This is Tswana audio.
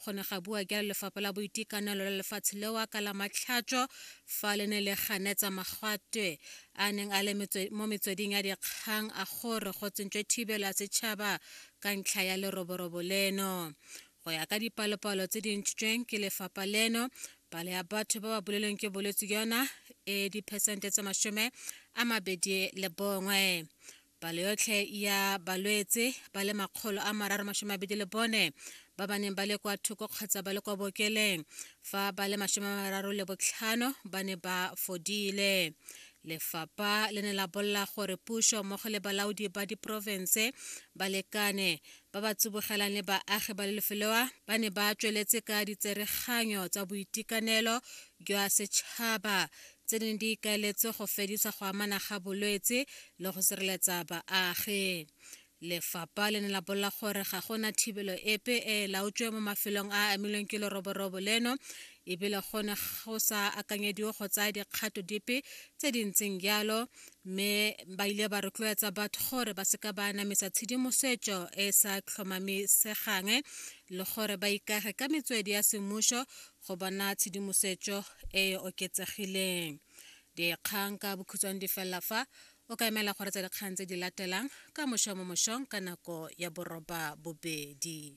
Go ne ga bua jalo lefapha la boitekanelo la lefatshe leo ka la Matlhatso fa le ne le ganetsa magatwe a neng a le mo metsweding ya dikgang a gore go tsentswe thibelo ya setšhaba ka ntlha ya leroborobo leno. Go ya ka dipalopalo tse di ntshitsweng ke lefapha leno, palo ya batho ba ba bolelweng ke bolwetse jona e diphesente tse 21. Palo yotlhe ya balwetse ba le 324 ba ba neng ba le kwa thoko kgotsa ba le kwa bookeleng, fa ba le 35 ba ne ba fodile. Lefapha le ne la bolela gore puso mmogo le balaodi ba diporofense ba lekane ba ba tsibogelang le baagi ba lefeloa ba ne ba tsweletse ka ditsereganyo tsa boitekanelo jwa setšhaba tse di neng di ikaeletse go fedisa go amana ga bolwetse le go sireletsa baagi. Lefapha le ne la bolela gore ga go na thibelo epe e e laotsweng mo mafelong a a amilweng ke leroborobo leno ebile go ne go sa akanyediwe go tsaya dikgato dipe tse di ntseng jalo mme ba ile ba rotloetsa batho gore ba seka ba anamisa tshedimosetso e e sa tlhomamisegang le gore ba ikage ka metswedi ya semmuso go bona tshedimosetso e e oketsegileng. Dikgang ka bokhutshwane di felela fa o ka emela go retsa dikgang tse di latelang ka mošo mo mošong ka nako ya boroba bobedi.